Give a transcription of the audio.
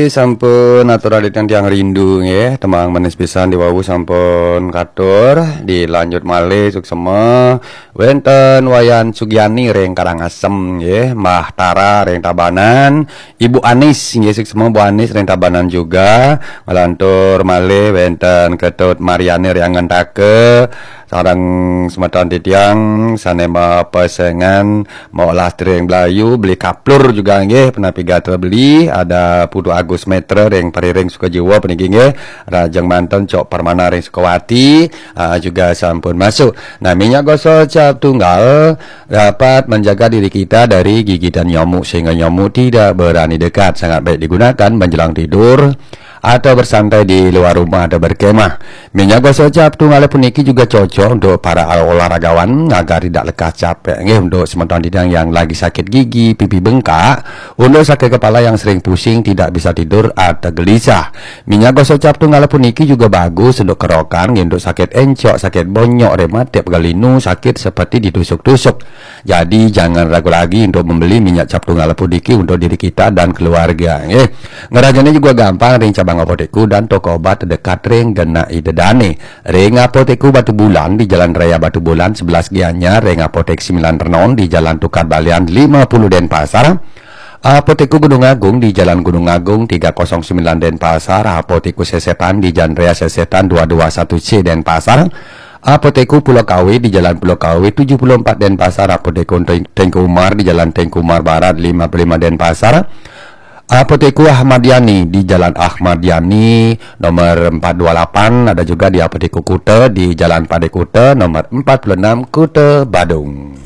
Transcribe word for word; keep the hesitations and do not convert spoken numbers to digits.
Sampun atur adityan tiang rindu nggih, tembang manis pisan diwawu sampun katur, dilanjut malih suksema wenten Wayan Sugiani ring Karangasem nggih, Mbah Tara ring Tabanan, Ibu Anis nggih suksema Bu Anis ring Tabanan juga, nglantur malih wenten Ketut Mariani ring Angantaka, sareng semeton titiang sane mapesengan maolah tering Blayu, beli kaplur juga nggih, punapi gatra beli, ada Putu Agus Metra ring Periring Sukajiwa puniki nggih, Rajeng Manten Cok Permana ring Sukawati, ah, juga sampun masuk. Nah, minyak gosok cap tunggal dapat menjaga diri kita dari gigitan nyamuk sehingga nyamuk tidak berani dekat. Sangat baik digunakan menjelang tidur atau bersantai di luar rumah atau berkemah. Minyak gosok cap tunggal puniki juga cocok untuk para olahragawan agar tidak lekas capek. Nggih, untuk semeton titiang yang lagi sakit gigi, pipi bengkak, untuk sakit kepala yang sering pusing, tidak bisa tidur atau gelisah. Minyak gosok cap tunggal puniki juga bagus untuk kerokan, nggih, untuk sakit encok, sakit bonyok, rematik, pegal linu, sakit seperti ditusuk-tusuk. Jadi jangan ragu lagi untuk membeli minyak cap tunggal puniki untuk diri kita dan keluarga, nggih. Ngrajane juga gampang ring cabang apotekku dan toko obat terdekat ring genah ida dane. Ring apotekku Batu Bulan di Jalan Raya Batu Bulan sebelas Gianyar, ring apotek Sembilan Renon di Jalan Tukad Balian lima puluh Denpasar. Apotekku Gunung Agung di Jalan Gunung Agung tiga kosong sembilan Denpasar, apotekku Sesetan di Jalan Raya Sesetan dua dua satu C Denpasar. Apotekku Pulau Kawe di Jalan Pulau Kawe tujuh puluh empat Denpasar, apotekku Teng-, Tengku Umar di Jalan Tengku Umar Barat lima puluh lima Denpasar. Apotekku Ahmad Yani di Jalan Ahmad Yani nomor empat dua lapan, ada juga di Apotekku Kuta di Jalan Pade Kuta nomor empat puluh enam Kuta Badung.